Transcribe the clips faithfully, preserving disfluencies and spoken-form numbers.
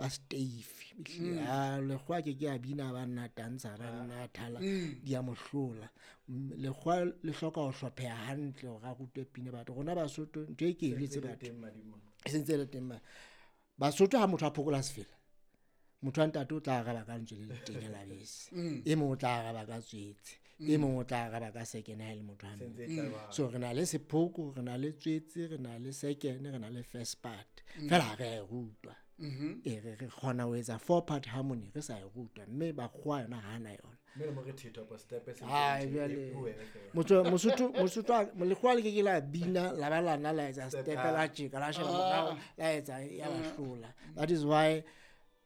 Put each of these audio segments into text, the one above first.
ba steifi. A lekgowa ke ke a bina ba nna tantsha ba nna thala di a mo hlola. Mm, lekgowa le hloka ho hlopheha hantle hore a rutwe pina batho. Rona Basotho ntho e ke e eletse batho Teng madimo. E sentse e le teng mane. Basotho ha motho a phokola sefela, motho wa ntate o tla araba ka lentswe le letenya la bese, e mong o tla araba ka tswetse, e mong o tla araba ka second ha e le motho wa mme. Sentse e tla ba. So re na le sephoko, re na le tswetse, re na le second, re na le first part, fela ha re a e rutwa. E re re kgona ho etsa four part harmony re sa e rutwa, mme bakgowa yona ha na yona. Mme le mo re thetha pa step se. Ai, e jwale wena fela. motho Mosotho Mosotho a- lekgowa le ke ke la bina la ba lana la etsa Step step ah. la tjeka la sheba morao la etsa ya ba hlola. That is why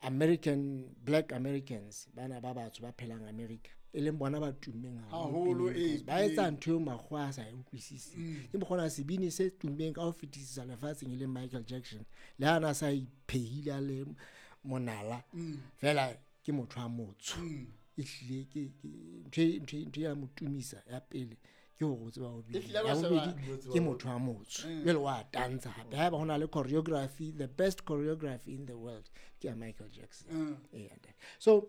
American black Americans bana ba batsho ba phelang America e leng bona ba tummeng Haholo, haholo ee, pineng, ba etsa pineng. ntho eo makgowa a sa e utlwisiseng. Ke mokgona sebini se tummeng ka ho fetisisa lefatsheng e leng Michael Jackson, le ha na sa iphehile a le monala fela ke motho a motsho, ehlile ke ke ntho e- ntho e- ntho ya mo tumisa ya pele ke hore o tseba ho bina, Ehlile ya ba sheba- bobedi ke motho wa motsho, jwale wa tantsha hape. Haeba ho na le choreography, the best choreography in the world ke ya Michael Jackson. Ee, ntate. So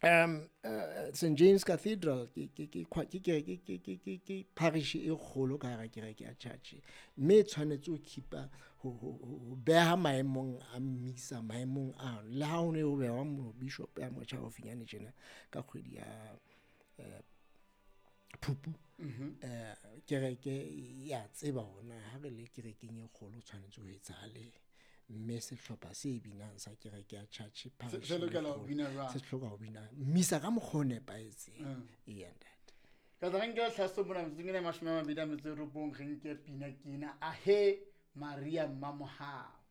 um uh, Saint James Cathedral ke ke ke kwa- ke ke ke ke ke ke parish e kgolo ka hara kereke ya church, mme e tshwanetse ho keepa ho ho ho ho beha maemong a mmisa maemong a le ha ho ne ho behwa mo bishop ya motjha haufinyane tjena ka kgwedi ya eh, Phupu, eh kereke ya tseba hore na ha re le kerekeng e kgolo tshwanetse ho etsahale, mme sehlopha se binang sa kereke ya church parish se lokela ho e kgolo, bina jwang? Se hloka ho bina mmisa ka mokgwa o nepahetseng. Ee, ntate. Ka tla re nke tlhaso mona metsotsong ena e mashome a mabedi a metso e robong, re nke pina ke ena, Ahe Maria Mmamohau.